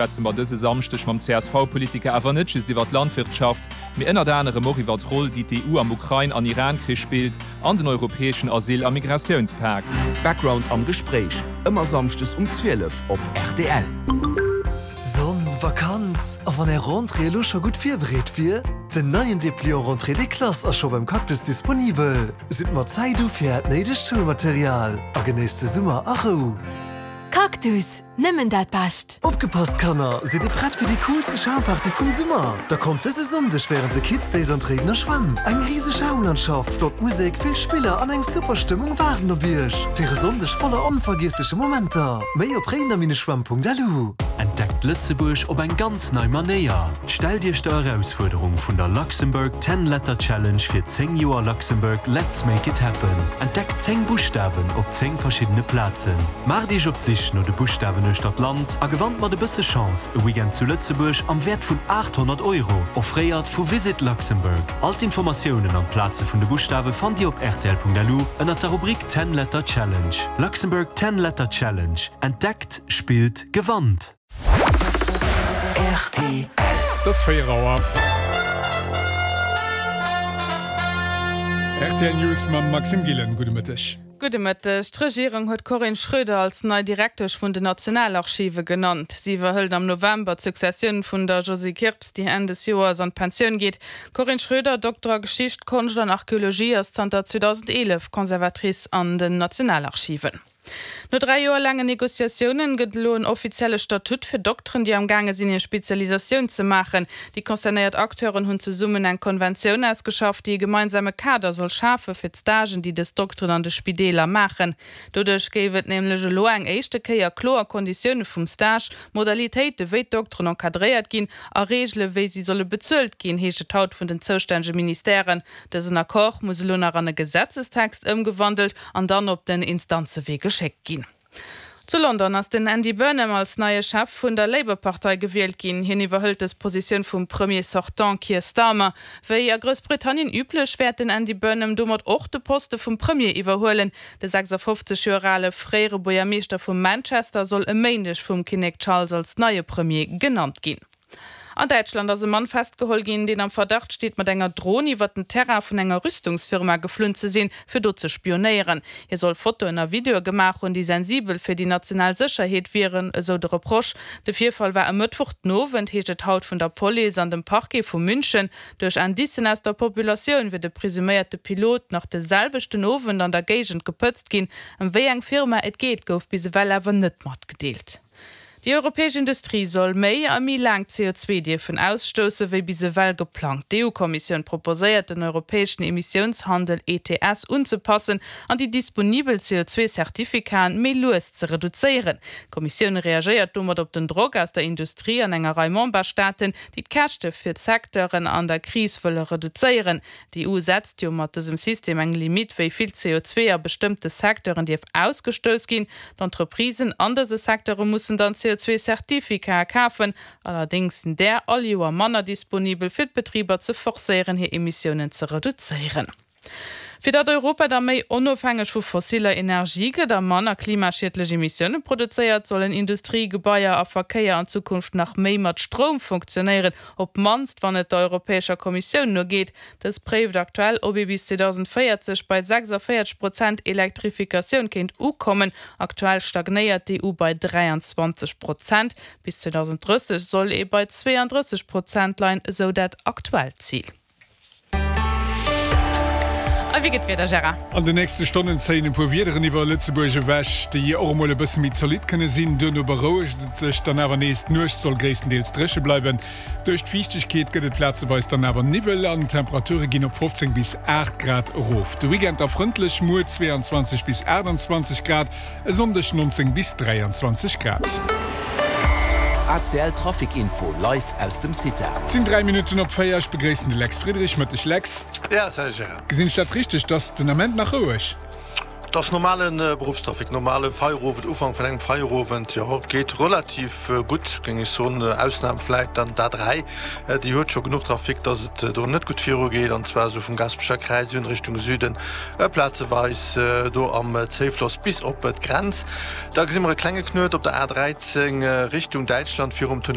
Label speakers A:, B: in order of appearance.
A: Schwätze mer dëse Samschdeg mam CSV-Politiker awer net just iwwer d'Landwirtschaft, mee ënnert anerem och iwwer d'Roll, déi d'EU am Ukrain an Iran-Krich spillt an den europäeschen Asyl a Migratiounspak.
B: Background am Gespréich, ëmmer samschdes um 12 op rtl.
C: Sonn, Vakanz a wann är Rentrée elo scho gutt virbereet wier? Den neien Depliant Rentrée des Classes ass scho beim Cactus disponibel. Sidd mat Zäit u fir äert néidegt Schoulmaterial a genéisst de Summer a Rou.
D: Cactus, nëmmen dat Bescht!
C: Opgepasst Kanner, sidd dir prett fir déi coolste Schaumparty vum Summer? Da kommt dëse Sonndeg wärend de Kids Days an d'Réidener Schwämm. Eng riseg Schaumlandschaft, flott Musek, vill Spiller an eng super Stëmmung waarden op iech fir e Sonndeg voller onvergiessleche Momenter. Méi op réidener-schwämm.lu.
E: Entdeckt Lëtzebuerg op eng ganz nei Manéier! Stellt Iech der Erausfuerderung vun der Luxembourg Ten Letter Challenge fir 10 Joer Luxembourg Let's Make It Happen. Entdeckt 10 Buschtawen op 10 verschiddene Plazen. Maacht Iech op d'Sich no de Buschtawen uechter d'Land a gewannt mat e bësse Chance e Weekend zu Lëtzebuerg am Wäert vun 800 Euro, offréiert vu Visit Luxembourg. All d'Informatiounen an d'Plaze vun de Buschtawe fannt Dir op rtl.lu ënnert der Rubrik Ten Letter Challenge. Luxembourg Ten Letter Challenge, Entdeckt, spillt, gewannt!
B: Rtl.
F: Et ass 4 Auer. Rtl News mam Maxime Gillen. Gudde Mëtteg.
G: Gudde Mëtteg. D'Regierung huet d'Corinne Schroeder als nei Direktesch vun den Nationalarchive genannt. Si iwwerhëlt am November d'Successioun vun der Josée Kirps, déi Enn des Joers an d'Pensioun geet. D'Corinne Schroeder, Dokter a Geschicht, Konscht an Archeologie, ass zanter 2011 Conservatrice an den Nationalarchiven. No 3 Joer laangen Negociatiounen gëtt elo en offizielle Statut fir Dokteren, déi am gaange sinn hir Spezialisatioun ze maachen. Déi concernéiert Acteuren hunn zesummen eng Konventioun ausgeschafft, déi e gemeinsame Kader soll schafe fir d'Stagen, déi dës Dokteren an de Spideeler maachen. Doduerch géif et nämlech elo eng éischte Kéier kloer Konditioune vum Stage, Modalitéite wéi d'Dokteren encadréiert ginn a Reegele wéi si solle bezuelt ginn, heescht et haut vun den zoustännege Ministèren. Dësen Accord muss elo nach an e Gesetzestext ëmgewandelt an dann op den Instanzewee geschéckt ginn. Zu London ass den Andy Burnham als neie Chef vun der Labour-Partei gewielt ginn. Hien iwwerhëlt dës Positioun vum Premier sortant Keir Starmer. Wéi a Groussbritannien üblech, wäert den Andy Burnham domat och de Poste vum Premier iwwerhuelen. De 56 Joer ale fréiere Buergermeeschter vu Manchester soll e Méindeg vum Kinnek Charles als neie Premier genannt ginn. An Däitschland ass e Mann festgeholl ginn, deen am Verdacht steet, mat enger Dron iwwer den Terrain vun enger Rüstungsfirma geflunn ze sinn, fir do ze spionéieren. Hie soll Fotoen a Videoe gemaach hunn, déi sensibel fir déi national Sécherheet wieren, esou de Reproche. De Virfall war e Mëttwoch den Owend, heescht et haut vun der Police an dem Parquet vu München. Duerch Indicen aus der Populatioun wier de presuméierte Pilot nach de selwechten Owend an der Géigend gepëtzt ginn. Ëm wéi eng Firma et geet, gouf bis ewell awer net matgedeelt. Déi europäesch Industrie soll méi a méi laang CO2 dierfen ausstousse wéi bis ewell geplangt. D'EU-Kommissioun proposéiert, den europäeschen Emissiounshandel, ETS, unzepassen an déi disponibel CO2-Certificaten méi lues ze reduzéieren. D'Kommissioun reagéiert domat op den Drock aus der Industrie an enger Rei Memberstaaten, déi d'Käschte fir d'Secteuren an der Kris wëlle reduzéieren. D'EU setzt jo mat dësem System eng Limitt, wéi vill CO2 a bestëmmte Secteuren dierf ausgestouss ginn. D'Entreprisen an dëse Secteure mussen dann CO2-Certificate kafen. Allerdéngs sinn där all Joer manner disponibel, fir d'Betriber ze forcéieren, hir Emissiounen ze reduzéieren. Fir datt Europa da méi onofhängeg vu fossiller Energie gëtt a manner klimaschiedlech Emissioune produzéiert, sollen Industrie, Gebaier a Verkéier an Zukunft nach méi mat Stroum funktionéieren, Op d'mannst wann et der Europäescher Kommissioun no geet. Dës préift aktuell, ob ee bis 2040 bei 46 Prozent Elektrifikatioun kéint ukommen. Aktuell stagnéiert d'EU bei 23 Prozent. Bis 2030 soll ee bei 32 Prozent leien, esou dat aktuellt Zil. A wéi gëtt d'Wieder, Gérard?
F: An den nächste Stonnen zéien e puer Wiederen iwwer Lëtzebuerg ewech, déi och emol e bësse méi zolidd kënne sinn. Duerno berouegt et sech dann awer nees, d'Nuecht soll gréisstendeels dréche bleiwen. Duerch d'Fiichtegkeet gëtt et plazeweis dann awer Niwwel an d'Temperature ginn op 15 bis 8 Grad erof. De Weekend da frëndlech, muer 22 bis 28 Grad, e Sonndeg 19 bis 23 Grad.
B: ACL Trafic Info live aus dem CITA.
F: Et sinn 3 Minutten op 4, ech begréissen de Lex Friedrich. Mëtteg Lex.
H: Ja, salut Gérard.
F: Gesinn ech dat richteg, dass den Ament nach roueg?
H: Et ass normale Beruffstrafic, normale Feierowend, Ufank vun engem Feierowend, jo, et geet relativ gutt, géing ech soen. Ausnam vläit dann d'A3, déi huet scho genuch Trafic, dass et do net gutt virugeet, an zwar esou vum Gaasperecher Kräiz un Richtung Süden, plazeweis do am Zéifloss bis op d'Grenz. Da gesi mer e klenge Knuet op der A13 Richtung Däitschland virum Tunnel.